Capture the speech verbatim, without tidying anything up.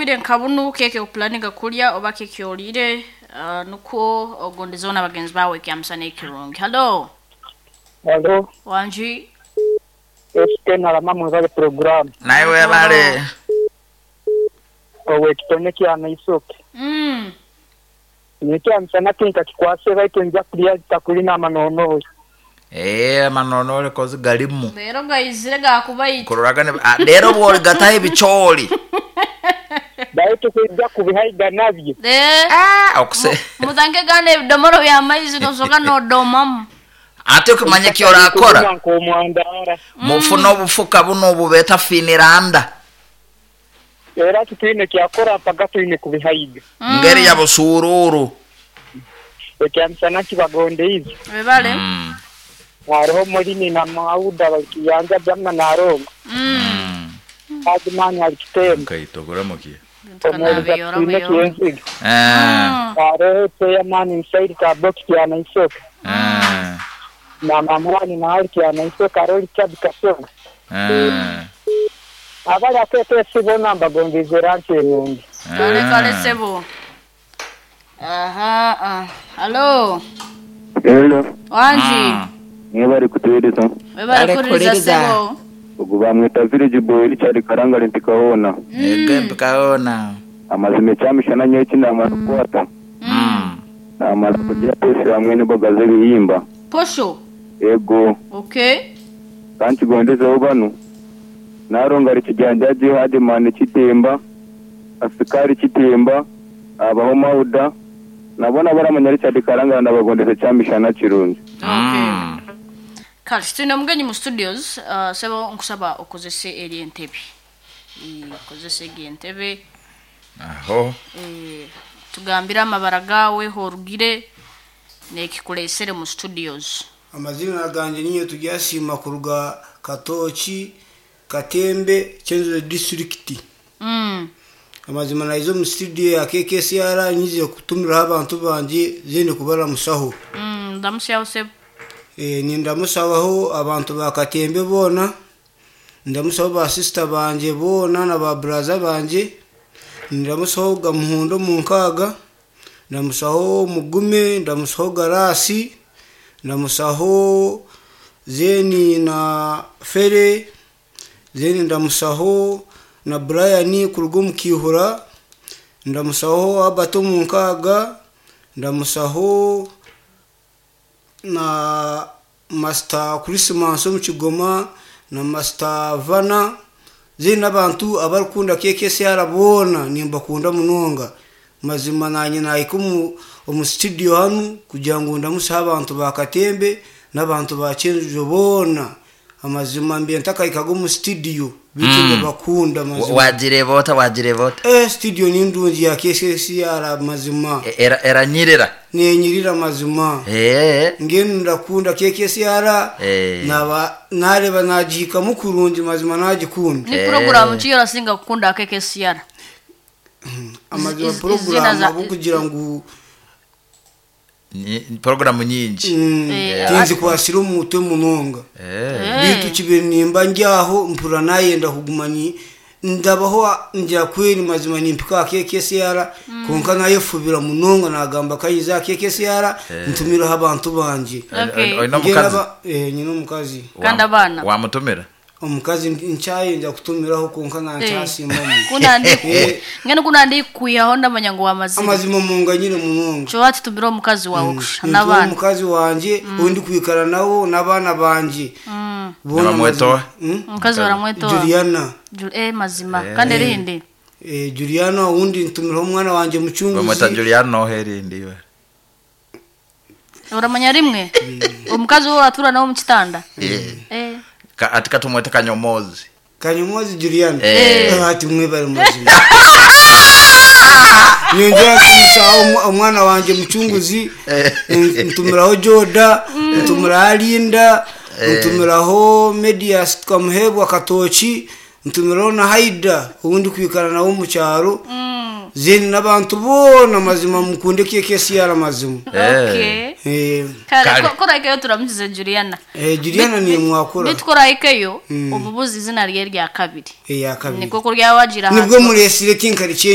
Obwire nka bunu keke opulaninga kulya oba keke olire uh, nukwo ogondezeho n'abagenzi bawe ekyamusana ekirungi. Hello. Hello, Wanji. S K na mama mwebale program. Naye webale. Owe kitone kyana isoke. Mm. Nekyamisana tinka kikwase baitu nja kulya takulina amanono. Eh, amanonore kozi galimu. Leero gayizire gakubaita. Kuroragane ah, leero bwoligataho ebicooli. Baitu kwijja kubihaiga nabyo. Eh. Ah, okuse Muthange gana ebidomoro bya maizi nosoka nodomamu. Ate okumanya kyorakora Nk'omwandara. mufune obufuka buno obubeeta finiranda. Era tutwine kyakora mpaka twine kubihaiga. Ngeri ya busuruuru. Ekyamisana kibagondeize. Webale. Mm. Hariho mulini na mauda balikiyanja jamna narongo. Mm. Hajimani alikitemba. Kaitogora muki. Omweriza twine kyenziga. Ah. Hariho chairman Msaidi Kaboki kyana isoke. Ah. Na mamwani na hali kyana isoke hariho Richard Kasonga. Ah. Abali akete bona mbagondeize ranki enungi. Kale kale sebo. Aha, ah. Hello. Hello, Wanji. niwe bari kutuhereza. Webale Bale kuliriza kuliriza. sebo. Ugu bamwita Village Boy Richard Karangale mpikaona. Ege mpikaona. Amazima ekyamishana nyowe eki namara kukwata. Mm. Namara kugira pesi hamwe n'emboga z'ebihimba. Posho. Ego, Okay. kankigondezeho banu. Narongara ekijanjaji Hadimani kitemba, asikari kitemba, abaho Mauda. Nabona baramanya Richard Karangale ndabagondeza ekyamishana kirungi. Okay. Mm. Kale tulina omugenyi mu studios, uh, sebo nkusaba okozese eri entebe. Eh, okozese egi entebe. Aho. Eh, tugambire amabara gawe horugire nekikulesere mu studios. Amazina ganje niyo tugyasiima kuruga Katoki Katembe, Kyenzura District. Mm. Amazima naiza omu studio ya K K S R nyize kutumiraho abantu banje zende kubaramusaho. Mm, ndamusyaho sebo. e, nindamusabaho abantu ba Katembe boona, ndamusaho ba sister banje boona na ba brother banje, ndamusaho Gamuhundo mu nkaaga, ndamusaho Mugume, ndamusaho Garasi, ndamusaho zeni na Fere zeni, ndamusaho na Brian kuruga omu Kiihura, ndamusaho Abato mu nkaaga, ndamusaho na Master Christmas omu Kigoma na Master Vana zeni n'abantu abarikukunda K K S R boona nimbakunda munonga. Mazima nanye nahika omu, omu studio hanu kugira ngu ndamusaho abantu ba Katembe n'abantu ba Kyenjojo boona. Amazima mbe ntakahikaga omu studio bitu Mm. ndabakunda mazima. Wagireba ota wagireba ota? Eh, studio ni ndungi ya K K S R mazima. E- era eranyirira. Nenyirira mazima. Eh. Ngenu ndakunda K K S R. Eh. Naba nareba nagihikamu kurungi mazima nagikunda. Ni Eh. program ki yorasinga kukunda K K S R? Amazima Iz- iz- porogaramu izina za- ahabwokugira ngu Nyi- Programu nyingi. mm, Eh, tinzikwasira omu mutwe munonga. Eh. Bitu kibe nimba ndyaho mpura nayenda kuguma ni ndabaho ngira kweri mazima nimpika K K S R konka nayefubira munonga nagamba kayiza K K S R ntumiraho abantu banje. Okay. Olina Ngenda omukazi? ba- eh, nyina omukazi. Kandi abaana? Wamutumira? Omukazi nkyayenda kutumiraho konka nankyasimamu. Kunandi Eh. ngene kunandi kuyaho ndamanya ngo wamazima. Amazima munganyire munonga. Kyo watutumira omukazi wawe kusha Nituwe n'abaana. omukazi wanje ondi kwikara nawo n'abaana banje. Mm. Boona Nibamwetoa? mazima. Mm? Omukazi baramwetoa. Juliana. Ju- eh mazima kandi erindi. Eh, Juliana undi ntumiraho omwana wanje Bamweta mucunguzi. Juliana oherindi iwe. Uramanya rimwe omukazi wo atura nawe mu kitanda. Eh. Eh. Ka- Ati katumwete Kanyomozi. Kanyomozi Juliana. Eh. Eh, ati mwebale mazima nyongera kumusaho omwa- omwana wanje mucunguzi, ntumiraho Joda, ntumiraho Alinda, ntumiraho Medias Twamuhebwa Katoki, ntumiraho na Haida ubundi kwikara nawe mu cyaro zeni n'abantu bona. Mazima mukunde K K S R mazima. Okay. Eh, Kale Kale. ko- korahikeyo turamukize Juliana. eh, Juliana ni mwakura. Bitkorahikeyo omubuzi izina rye rya kabiri. Eh, ya kabiri. Niko kurya wagira. Nibwo muresire tinkari.